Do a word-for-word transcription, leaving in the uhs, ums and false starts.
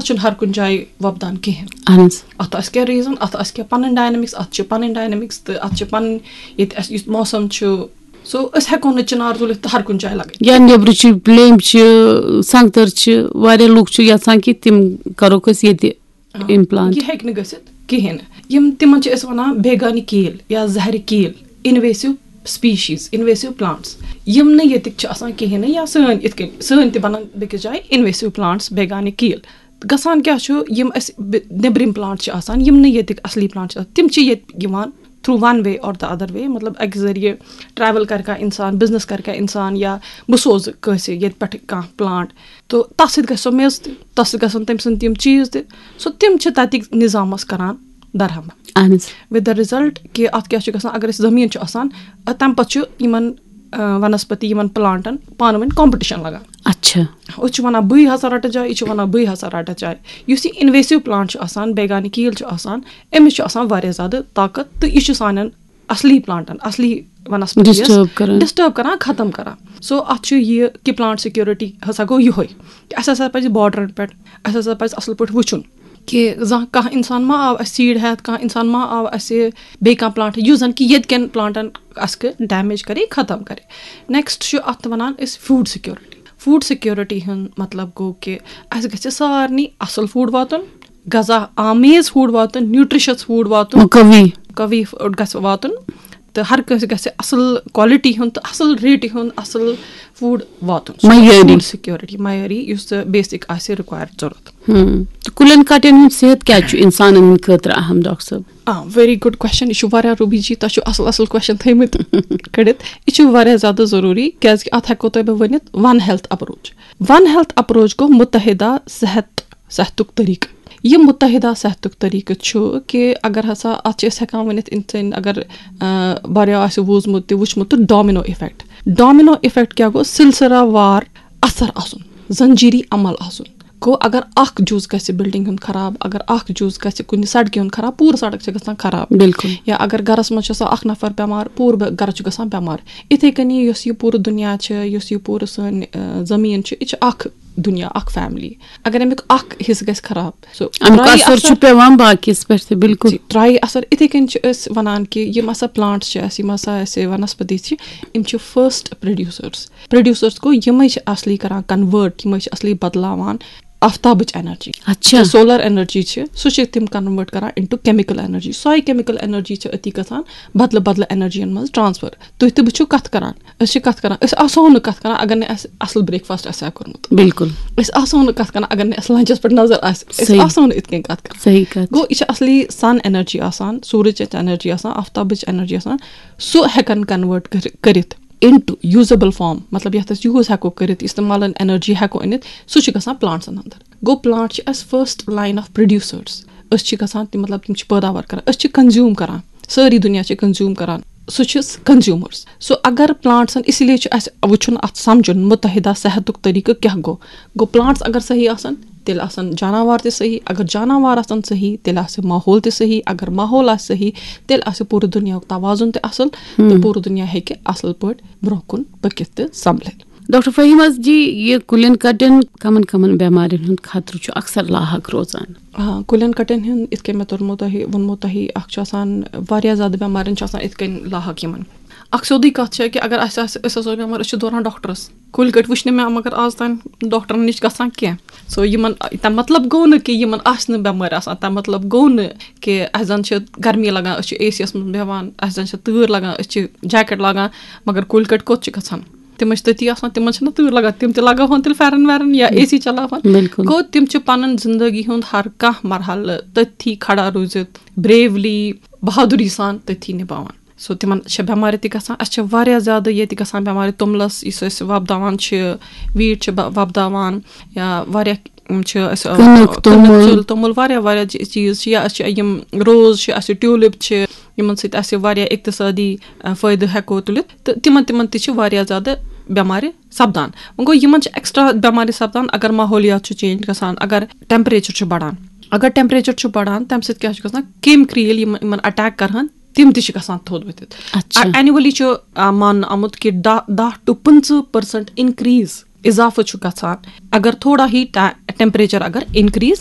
چھُنہٕ ہر کُنہِ جایہِ وۄپدان کِہیٖنۍ۔ اہن حظ۔ اَتھ آسہِ کینٛہہ ریٖزَن، اَتھ آسہِ کینٛہہ پَنٕنۍ ڈاینَمِکس، اَتھ چھِ پَنٕنۍ ڈاینَمِکس تہٕ اَتھ چھِ پَنٕنۍ ییٚتہِ اَسہِ یُتھ موسم چھُ، سو أسۍ ہٮ۪کو نہٕ چِنار تُلِتھ تہٕ ہر کُنہِ جایہِ لَگٲوِتھ۔ یا نیٚبرٕ چھِ لیٚمبۍ چھِ، سنٛگتر چھِ، واریاہ لُکھ چھِ یژھان کہِ تِم کرو أسۍ ییٚتہِ implant۔ یہِ ہٮ۪کہِ نہٕ گٔژھِتھ کِہیٖنۍ نہٕ۔ یِم تِمن چھِ أسۍ وَنان بیگانہِ کیٖل یا زہرِ کیٖل، invasive species، invasive plants، یِم نہٕ ییٚتِکۍ چھِ آسان کِہیٖنۍ نہٕ، یا سٲنۍ یِتھ کٔنۍ سٲنۍ تہِ بَنان بیٚکِس جایہِ invasive plants، بیگانہِ کیٖل۔ گژھان کیٛاہ چھُ، یِم اَسہِ بِ- نیٚبرِم پلانٹ چھِ آسان، یِم نہٕ ییٚتِکۍ اَصلی پلانٹ چھِ آسان، تِم چھِ ییٚتہِ یِوان through one way or the other way، مطلب اَکہِ ذٔریعہٕ ٹریول کَرِ کانٛہہ اِنسان، بِزنِس کَرِ کانٛہہ اِنسان، یا بہٕ سوزٕ کٲنٛسہِ ییٚتہِ پٮ۪ٹھ کانٛہہ پلانٹ، تہٕ تَتھ سۭتۍ گژھِ سۄ میٚژ تہِ، تَتھ سۭتۍ گژھن تٔمۍ سٕنٛدۍ تِم چیٖز تہِ۔ سو تِم چھِ تَتِکۍ نِظامَس کَران درہم۔ اہن حظ۔ With the result کہِ اَتھ کیٛاہ چھُ گژھان، اگر اَسہِ زٔمیٖن چھُ آسان، اَ، تَمہِ پَتہٕ چھُ یِمَن، آ، وَنَسپتی، یِمَن پلانٹَن پانہٕ ؤنۍ کمپِٹیشن لَگان۔ اچھا۔ أسۍ چھِ وَنان بٕے ہسا رَٹہٕ جاے، یہِ چھِ وَنان بٕے ہسا رَٹہٕ جاے۔ یُس یہِ invasive plant چھُ آسان، بیگانہِ کیٖل چھُ آسان، أمِس چھُ آسان واریاہ زیادٕ طاقت تہٕ یہِ چھُ سانٮ۪ن اَصلی پلانٹَن، اَصلی وَنَسپتی Disturb کران۔ ڈِسٹٲرب کران، ختم کران۔ سو اَتھ چھُ یہِ کہِ پلانٹ سیکیورٹی ہسا گوٚو یِہوٚے کہِ اَسہِ ہسا پَزِ بارڈرَن پٮ۪ٹھ، اَسہِ ہسا پَزِ اَصٕل پٲٹھۍ وٕچھُن کہِ زانٛہہ کانٛہہ اِنسان ما آو اَسہِ سیٖڈ ہٮ۪تھ، کانٛہہ اِنسان ما آو اَسہِ بیٚیہِ کانٛہہ پلانٹ، یُس زَن کہِ ییٚتہِ کٮ۪ن پلانٹَن اَسہِ کہِ ڈیمیج کَرِ، ختم کَرِ۔ نیکسٹ چھُ اَتھ وَنان أسۍ فوڈ سیکیورٹی۔ فوڈ سیکیورٹی ہُنٛد مطلب گوٚو کہِ اَسہِ گژھِ سارنٕے اَصٕل فوڈ واتُن، غذا آمیز فوڈ واتُن، نیوٗٹرِشَس فوڈ واتُن، مقوی۔ قوی فوڈ گژھِ واتُن، تہٕ ہر کٲنٛسہِ گژھِ اَصٕل کوالٹی ہُنٛد تہٕ اَصٕل ریٹہِ ہُنٛد اَصٕل فوڈ واتُن۔ سُہ معیٲری۔ فوڈ سیکیورٹی، معیٲری، یُس تہٕ بیسِک آسہِ رِکوایَر ضوٚرَتھ۔ ہم۔ تہٕ کُلٮ۪ن کَٹٮ۪ن ہُنٛد صحت کیٛازِ چھُ اِنسانَن ہٕنٛدِ خٲطرٕ اہم، ڈاکٹر صٲب؟ آ، ویری گُڈ کوسچن۔ یہِ چھُ واریاہ، روبی جی، تۄہہِ چھُو اَصٕل اَصٕل کوسچن تھٲیمٕتۍ کٔڑِتھ۔ یہِ چھُ واریاہ زیادٕ ضروٗری، کیٛازِکہِ اَتھ ہٮ۪کو تۄہہِ بہٕ ؤنِتھ ون ہیلتھ اپروچ۔ ون ہیلتھ اپروچ گوٚو مُتحدہ صحت، صحتُک طریٖقہٕ۔ یہِ مُتحدہ صحتُک طریٖقہٕ چھُ کہِ اگر ہسا اَتھ چھِ أسۍ ہٮ۪کان ؤنِتھ، اِنسان اگر، آ، واریاہ آسہِ بوٗزمُت تہِ وٕچھمُت تہٕ ڈومینو افیکٹ۔ ڈومینو افیکٹ کیٛاہ گوٚو؟ سلسلہ وار اثر آسُن، زنجیری عمل آسُن۔ گوٚو اگر اکھ جُز گژھِ بلڈنگ ہُنٛد خراب، اگر اکھ جُز گژھِ کُنہِ سڑکہِ ہُنٛد خراب، پوٗرٕ سڑک چھِ گژھان خراب۔ بِلکُل۔ یا اگر گرس منٛز چھُ آسان اکھ نفر بٮ۪مار، پوٗرٕ بے-، گرس چھُ گژھان بٮ۪مار۔ یِتھے کٔنی یۄس یہِ پوٗرٕ دُنیا چھِ، یۄس یہِ پوٗرٕ سٲنۍ، آ، زٔمیٖن چھِ، یہِ چھِ اکھ دُنیا، اکھ فیملی۔ اگر امیُک اکھ حصہٕ گژھِ خراب، سُہ اَمیُک ترٛایہِ اثر چھُ پٮ۪وان باقیَس پٮ۪ٹھ تہِ، بِلکُل۔ جی، ترٛایہِ اثر۔ اِتھے کٔنۍ چھِ أسۍ وَنان کہِ یِم ہسا پلانٹس چھِ اَسہِ، یِم ہسا اَسہِ ونسپتی چھِ، یِم چھِ فرسٹ پروڈیوسرس۔ پروڈیوسرس گوٚو یِمے چھِ اصلی کران کنورٹ، یِمے چھِ اصلی بدلاوان آفتابٕچ انرجی۔ اچھا۔ سولر انرجی چھِ، سُہ چھِ تِم کنورٹ کران انٹو کیمیکل انرجی۔ سۄے کیمیکل انرجی چھِ أتی گژھان بدلہٕ بدلہٕ انرجین منٛز ٹرانسفر۔ تُہۍ تہٕ بہٕ چھِو کتھ کران، أسۍ چھِ کتھ کران، أسۍ آسو نہٕ کتھ کران اگر نہٕ اَسہِ اصل بریک فاسٹ آسہِ ہا کوٚرمُت۔ بِلکُل۔ أسۍ آسو نہٕ کتھ کران اگر نہٕ اَسہِ لنچس پٮ۪ٹھ نظر آسہِ، أسۍ صحیح۔ آسو نہٕ یِتھ کٔنۍ کتھ کران۔ صحیح کتھ۔ گوٚو یہِ چھِ اصلی سن انرجی آسان، سورج انرجی آسان، آفتابٕچ انرجی آسان، سُہ ہٮ۪کن کنورٹ کٔرِتھ انٹو یوٗزیبل فارم، مطلب یتھ أسۍ یوٗز ہٮ۪کو کٔرِتھ، استعمالن انرجی ہٮ۪کو أنِتھ، سُہ چھُ گژھان پلانٹسن اندر۔ گوٚو پلانٹ چھِ اَسہِ فرسٹ لائن آف پروڈیوسرس۔ أسۍ چھِ گژھان تِم، مطلب تِم چھِ پٲداوار کران، أسۍ چھِ کنزیوم کران، سٲری دُنیا چھِ کنزیوم کران، سُہ چھِ کنزیومرس۔ سو اگر پلانٹسن، اسی لیے چھُ اَسہِ وٕچھُن، اَتھ سمجھُن مُتحدہ صحتُک طریٖقہٕ کیٛاہ گوٚو۔ گوٚو پلانٹس اگر صحیح آسن، تیٚلہِ آسن جاناوار تہِ صحیح، اگر جاناوار آسن صحیح، تیٚلہِ آسہِ ماحول تہِ صحیح، اگر ماحول آسہِ صحیح، تیٚلہِ آسہِ پوٗرٕ دُنیاہُک توازُن تہِ اصل، تہٕ پوٗرٕ دُنیا ہیٚکہِ اصل پٲٹھۍ برونٛہہ کُن پٔکِتھ تہٕ سنبھلِتھ۔ ڈاکٹر فہیم حظ جی، یہِ کُلٮ۪ن کٹٮ۪ن کمن کمن بٮ۪مارٮ۪ن ہُنٛد خطرٕ چھُ اکثر لاحق روزان؟ آ، کُلٮ۪ن کٹٮ۪ن ہُنٛد، یِتھ کٔنۍ مےٚ توٚرمُت تۄہہِ، ووٚنمُت تۄہہِ، اکھ چھُ آسان واریاہ زیادٕ بٮ۪مارٮ۪ن چھُ آسان یِتھ کٔنۍ لاحق یِمن۔ اکھ سیوٚدُے کتھ چھےٚ کہِ اگر اَسہِ آسہِ، أسۍ آسو بٮ۪مار، أسۍ چھِ دوران ڈاکٹرس۔ کُلۍ کٹۍ وٕچھ نہٕ مےٚ مگر آز تام ڈاکٹرن نِش گژھان کینٛہہ۔ سو یِمن، تَمیُک مطلب گوٚو نہٕ کہِ یِمن آسہِ نہٕ بٮ۪مٲرۍ آسان، تَمیُک مطلب گوٚو نہٕ کہِ اَسہِ زن چھِ گرمی لگان، أسۍ چھِ اے سی یس منٛز بیٚہوان، اَسہِ زن چھِ تۭر لگان، أسۍ چھِ جیکٹ لاگان، مگر کُلۍ کٹۍ کوٚت چھِ گژھان؟ تِم ٲسۍ تٔتی آسان، تِمن چھِنہٕ تۭر لگان، تِم تہِ لگاوہن تیٚلہِ پھٮ۪رن وٮ۪رن یا اے سی چلاوہن۔ بِلکُل۔ گوٚو تِم چھِ پنٕنۍ زندگی ہُنٛد ہر کانٛہہ مرحلہٕ تٔتھی کھڑا روٗزِتھ، بریولی، بہادری سان تٔتھی نِباوان۔ سو تِمن چھِ بٮ۪مارِ تہِ گژھان۔ اَسہِ چھِ واریاہ زیادٕ ییٚتہِ گژھان بٮ۪مارِ، توٚملس یُس أسۍ وۄپداوان چھِ، ویٖٹ چھِ ب-، وۄپداوان، یا واریاہ، یِم چھِ أسۍ، آ، کٕنٕک، کٕنٕک، توٚمُل۔ ژِل، توٚمُل، واریاہ واریاہ چی-، چیٖز چھِ، یا أسۍ چھِ یِم روز چھِ، اَسہِ چھِ ٹیوٗلِپ چھِ، یِمن سۭتۍ اَسہِ واریاہ اقتصٲدی، آ، فٲیدٕ ہٮ۪کو تُلِتھ، تہٕ تِمن، تِمن تہِ چھِ واریاہ زیادٕ بٮ۪مارِ سپدان۔ وۄنۍ گوٚو، یِمن چھِ ایکسٹرا بٮ۪مارِ سپدان اگر ماحولیات چھُ چینج گژھان، اگر ٹیمپریچر چھُ بڑان۔ اگر ٹیمپریچر چھُ بڑان، تَمہِ سۭتۍ کیٛاہ چھُ گژھان؟ کیٚمۍ کرٛیٖلۍ یِم یِمن اٹیک کرہن، تِم تہِ چھِ گژھان تھوٚد ؤتھِتھ۔ اچھا۔ اینولی چھُ، آ، ماننہٕ آمُت کہِ دَہ، دَہ to پٕنٛژٕہ percent increase، اضافہٕ چھُ گژھان اگر تھوڑا ہی ٹیمپریچر اگر انکریز